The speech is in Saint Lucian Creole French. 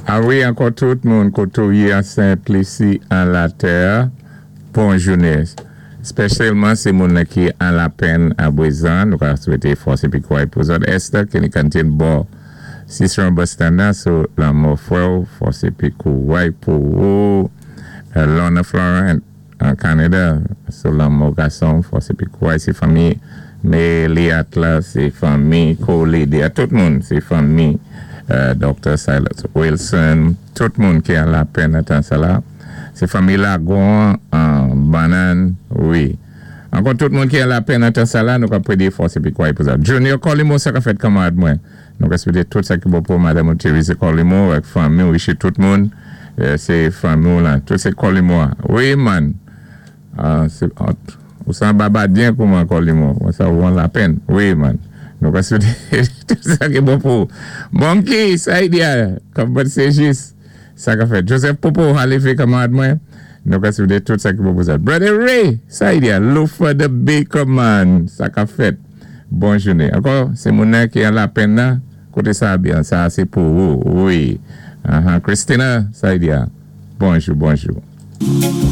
A wi, ankò tout moun koté ou yé an Sent Lisi an latè, bon jounen. Spesyalman sé moun ki an lapenn abwézan, nou ka swété fòs épi kouray pou zòt. Esther, ki kantin bò Cicéron bus stand nan, sou lanmò fwè ou, fòs épi kouray pou ou. Lorna Florent, an Kanada, sou lanmò gason, fòs épi kouray, sé fanmi Meliat la, sé fanmi Colide, tout moun, sé fanmi Dr. Silas Wilson, tout moun ki an lapenn an tan sa la. Sé fanmi Lagon an Banan, wi. Ankò tout moun ki an lapenn an tan sa la, nou ka prédé fòs épi kouray pou sa. Junior Colimo, sa ka fèt, kanmarad mwen. Nou ka swété tout sa ki bon pou Madame Therese Colimo ak fanmi, wi, tout moun. Sé fanmi la, tout sé Colimo. Wi, man. Ah, sé ou san Babadyen kouman Colimo, sa ou an lapenn. Wi, man. Nou ka swété tout sa ki bon pou. Monkey, sa idéal. Kòm sé jis. Sa ka fèt. Joseph Popo, alévé kanmarad mwen. Nou ka swété tout sa ki bon pou sa. Brother Ray, sa idéal. Lufa the Baker man. Sa ka fèt. Bon jounen. Ankò, sé moun ki an lapenn nan. Koté sa byen, sa sé pou ou. Wi. Christina, sa idéal. Bonjou, bonjou.